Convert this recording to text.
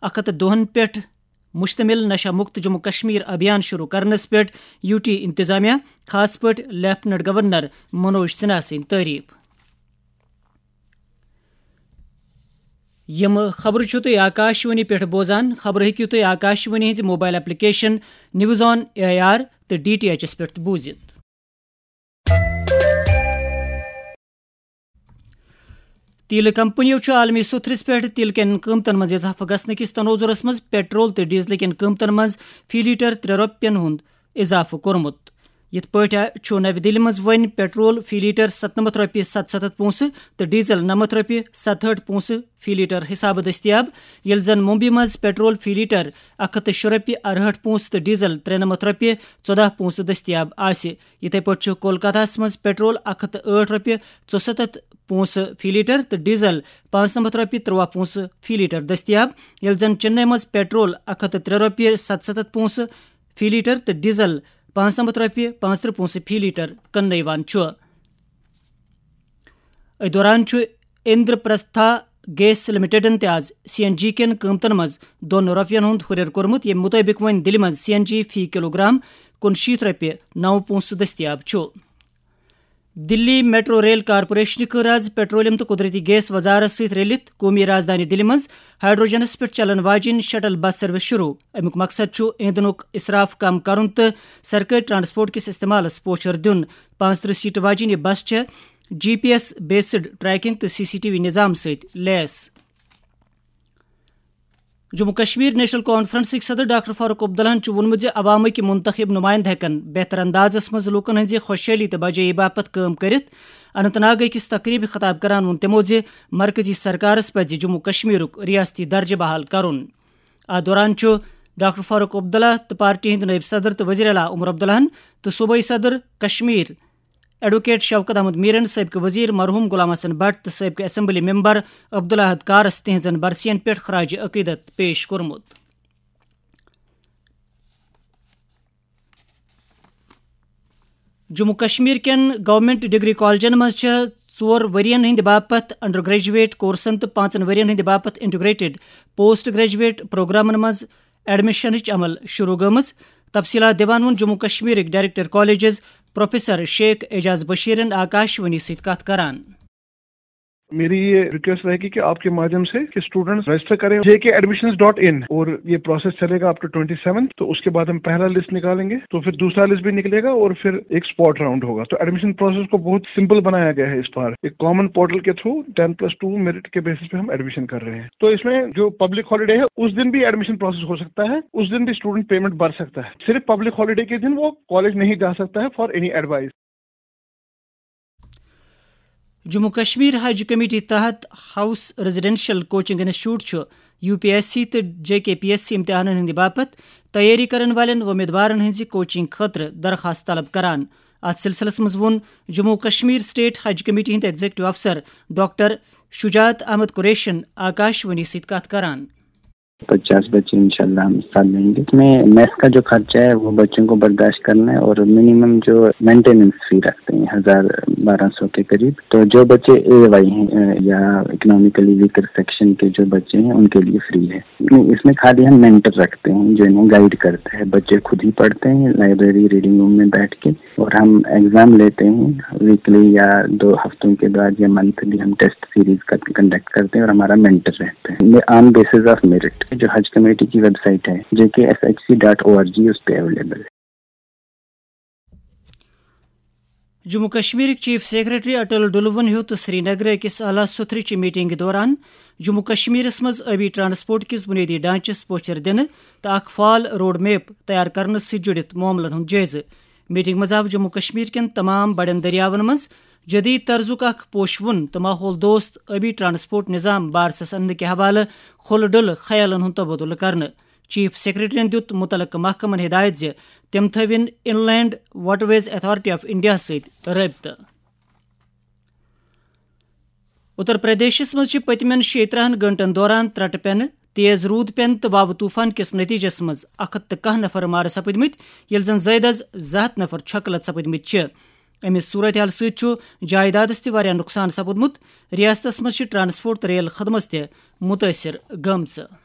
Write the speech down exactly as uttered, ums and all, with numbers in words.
اکھ ہتھ دۄہن پٮ۪ٹھ مشتمل نشہ مکت جموں کشمیر ابھیان شروع کرنس پٮ۪ٹھ یو ٹی انتظامیہ، خاص پٲٹھۍ لیفٹیننٹ گورنر منوج سنہا سٕنٛدۍ تعریف۔ یِم خبرٕ چھِو تُہۍ آکاش وانی پٮ۪ٹھ بوزان۔ خبرٕ ہیٚکِو تُہۍ آکاش وانی ہٕنٛزِ mobile application news on A R تہٕ ڈی ٹی ایچ ایس پٮ۪ٹھ تہِ بوٗزِتھ۔ تیلہٕ کمپنیو چھُ عالمی سوٚتھرِس پٮ۪ٹھ تیلہٕ کٮ۪ن قۭمتن منٛز اضافہٕ گژھنہٕ کِس تنوظرس منٛز پیٹرول تہٕ ڈیزلہٕ کٮ۪ن قۭمتن منٛز فی لیٹر ترٛےٚ رۄپین ہُنٛد اضافہٕ کوٚرمُت۔ یِتھ پٲٹھۍ چھُ نَوِ دِلہِ منٛز وۄنۍ پیٹرول فی لیٹر ستنمتھ رۄپیہِ ستستھ پونٛسہٕ تہٕ ڈیزل نَمَتھ رۄپیہِ ستہٲٹھ پونٛسہٕ فی لیٹر حسابہٕ دٔستیاب، ییٚلہِ زن ممبئی منٛز پیٹرول فی لیٹر اکھ ہتھ تہٕ شےٚ رۄپیہِ ارہٲٹھ پونٛسہٕ تہٕ ڈیزل ترٛےٚ نَمَتھ رۄپیہِ ژۄداہ پونٛسہٕ دٔستیاب آسہِ۔ یِتھے پٲٹھۍ چھُ کولکاتاہَس منٛز پیٹرول اکھ ہتھ تہٕ ٲٹھ رۄپیہِ ژُسَتتھ پونٛسہٕ فی لیٹر تہٕ ڈیزل پانٛژنَمَتھ رۄپیہِ ترٛواہ پونٛسہٕ فی لیٹر دٔستیاب، ییٚلہِ زن چنئی منٛز پیٹرول اکھ ہتھ تہٕ ترٛےٚ رۄپیہِ ستستھ پونٛسہٕ فی لیٹر تہٕ ڈیزل پانٛژنَمَتھ رۄپیہِ پانٛژترٕٛہ پونٛسہٕ فی لیٹر کٕننہٕ یِوان چھُ۔ أتھۍ دوران چھُ اندرپرستھا گیس لمیٹڈن تہِ آز سی این جی کٮ۪ن قۭمتن منٛز دۄن رۄپین ہُنٛد ہُرٮ۪ر کوٚرمُت، ییٚمہِ مُطٲبِق وۄنۍ دِلہِ منٛز سی این جی فی کلوگرام کُنشیٖتھ رۄپیہِ نَو پونٛسہٕ دٔستیاب چھُ۔ دِلی میٹرو ریل کارپوریشنہِ کٔر آز پیٹرولیم تہٕ قدرتی گیس وزارت سۭتۍ رٔلِتھ قومی رازدانہِ دِلہِ منٛز ہائیڈروجنس پٮ۪ٹھ چلن واجیٚنۍ شٹل بس سروس شروع۔ اَمیُک مقصد چھُ ایندھنُک اسراف کم کرُن تہٕ سرکٲرۍ ٹرانسپورٹ کِس استعمالس پوچھر دیُن۔ پانٛژترٕٛہ سیٹہٕ واجیٚنۍ یہِ بس چھےٚ جی پی ایس بیسڈ ٹریکنگ تہٕ سی سی ٹی وی نظام سۭتۍ لیس۔ جموں کشمیر نیشنل کانفرنسٕکۍ صدر ڈاکٹر فاروق عبداللہَن چھُ ووٚنمُت زِ عوامٕکۍ منتخب نمائندٕ ہٮ۪کَن بہتر اندازَس منٛز لوٗکَن ہٕنٛزِ خۄشحٲلی تہٕ بجٲیی باپتھ کٲم کٔرِتھ۔ اننت ناگ أکِس تقریبہِ خطاب کران ووٚن تِمو زِ مرکزی سرکارَس پَزِ جموں کشمیرُک ریاستی درجہٕ بحال کرُن۔ اَتھ دوران چھُ ڈاکٹر فاروق عبداللہ تہٕ پارٹی ہٕنٛدۍ نٲیِب صدر تہٕ وزیر اعلیٰ عمر عبداللہَن تہٕ صوبٲئی صدر کشمیر ایڈووکیٹ شوکت احمد میرن، سٲبقہٕ وزیر مرحوم غلام حسن بٹ تہٕ سٲبقہٕ اسمبلی ممبر عبداللہ احد کارس تِہنٛزن برسین پٮ۪ٹھ خراج عقیدت پیش کوٚرمُت۔ جموں کشمیر کٮ۪ن گورنمنٹ ڈگری کالجن منٛز چھِ ژور ؤرین ہٕنٛدِ باپتھ انڈر گریجویٹ کورسن تہٕ پانٛژن ؤرین ہٕنٛدِ باپتھ انٹیگریٹڈ پوسٹ گریجویٹ پروگرامن منٛز ایڈمشنٕچ عمل شروع گٔمٕژ۔ تفصیلات دِوان ووٚن جموں کشمیرٕکۍ director colleges professor Sheikh Ejaz بشیرن آکاش وانی سۭتۍ کتھ کران۔ میری یہ ریکویسٹ رہے گی کہ آپ کے مادھیم سے کہ اسٹوڈنٹس رجسٹر کریں جے کے ایڈمیشن ڈاٹ ان، اور یہ پروسیس چلے گا اپ ٹو ٹوئنٹی سیون۔ تو اس کے بعد ہم پہلا لسٹ نکالیں گے، تو پھر دوسرا لسٹ بھی نکلے گا اور پھر ایک اسپاٹ راؤنڈ ہوگا۔ تو ایڈمیشن پروسیس کو بہت سمپل بنایا گیا ہے اس بار۔ ایک کامن پورٹل کے through ten plus two merit کے بیسس پہ ہم ایڈمیشن کر رہے ہیں۔ تو اس میں جو پبلک ہالیڈے ہے، اس دن بھی ایڈمیشن پروسیس ہو سکتا ہے، اس دن بھی اسٹوڈنٹ پیمنٹ بھر سکتا ہے۔ صرف پبلک ہالیڈے کے دن وہ کالج نہیں جا سکتا ہے for any advice. Jammu Kashmir Haj committee تحت ہاؤس ریزیڈنشل کوچنگ انسٹیٹیوٹ چھُ یو پی ایس سی تہٕ J K P S C امتحانن ہٕنٛدِ باپتھ تیٲری کرن والٮ۪ن وۄمیدوارن ہٕنٛزِ کوچنگ خٲطرٕ درخواست طلب کران۔ اتھ سلسلس منٛز ووٚن جموں کشمیر اسٹیٹ حج کمیٹی ہٕنٛدۍ ایگزیکٹو افسر ڈاکٹر شجاعت احمد قریشن آکاش وانی سۭتۍ کتھ کران۔ پچاس بچے انشاءاللہ ہم ساتھ لیں گے۔ اس میں میس کا جو خرچہ ہے وہ بچوں کو برداشت کرنا ہے اور منیمم جو مینٹیننس فی رکھتے ہیں ہزار بارہ سو کے قریب۔ تو جو بچے اے وائی ہیں، اے، یا اکنامیکلی ویکر سیکشن کے جو بچے ہیں ان کے لیے فری ہے۔ نہیں، اس میں خالی ہم مینٹر رکھتے ہیں جو انہیں گائیڈ کرتا ہے۔ بچے خود ہی پڑھتے ہیں، لائبریری ریڈنگ روم میں بیٹھ کے، اور ہم ایگزام لیتے ہیں ویکلی یا دو ہفتوں کے بعد یا منتھلی ہم ٹیسٹ سیریز کا کنڈکٹ کرتے ہیں اور ہمارا مینٹر رہتا ہے۔ یہ آن بیسس آف میرٹ جو حج کمیٹی کی ویب سائٹ ہے، J K S H C dot O R G, اس پہ اویلیبل ہے۔ جموں کشمیرٕکۍ چیف سیکرٹری اٹل ڈلوَن ہیوٚت سری نگر أکِس اعلیٰ سوٚتھرٕچہِ میٹنگہِ دوران جموں کشمیرس منٛز ٲبی ٹرانسپورٹ کِس بنیٲدی ڈھانچس پوچھر دِنہٕ تہٕ اکھ فال روڈ میپ تیار کرنس سۭتۍ جُڑِتھ معاملن ہُنٛد جٲیزٕ۔ میٹنگ منٛز آو جموں کشمیر کٮ۪ن تمام بڑٮ۪ن دٔریاون منٛز جدید طرزُک اکھ پوشوُن تہٕ ماحول دوست ٲبی ٹرانسپورٹ نظام بارسس اننہٕ کہِ حوالہٕ کھُلہٕ ڈُلہٕ خیالن ہُنٛد تبادلہٕ کرنہٕ۔ چیف سیکرٹریَن دیُت مُتعلقہٕ محکمَن ہدایت زِ تِم تھٲوِن انلینڈ واٹرویز اتھارٹی آف انڈیا سۭتۍ رٲبطہٕ۔ اتر پردیشس منٛز چھِ پٔتمٮ۪ن شیٚیہِ ترٕٛہن گٲنٛٹن دوران ترٛٹہٕ پٮ۪نہٕ، تیز روٗد پٮ۪نہٕ تہٕ واوٕ طوفان کِس نتیجس منٛز اکھ ہتھ تہٕ کاہ نفر مارٕ سپٕدمٕتۍ، ییٚلہِ زن زٲیدٕ از زٕ ہتھ نفر چھۄکہٕ لد سپٕدمٕتۍ چھِ۔ اَمہِ صورتحال سۭتۍ چھُ جائیدادس تہِ واریاہ نۄقصان سپُدمُت۔ ریاستس منٛز چھِ ٹرانسپورٹ تہٕ ریل خدمژ تہِ مُتٲثر گٔمژٕ۔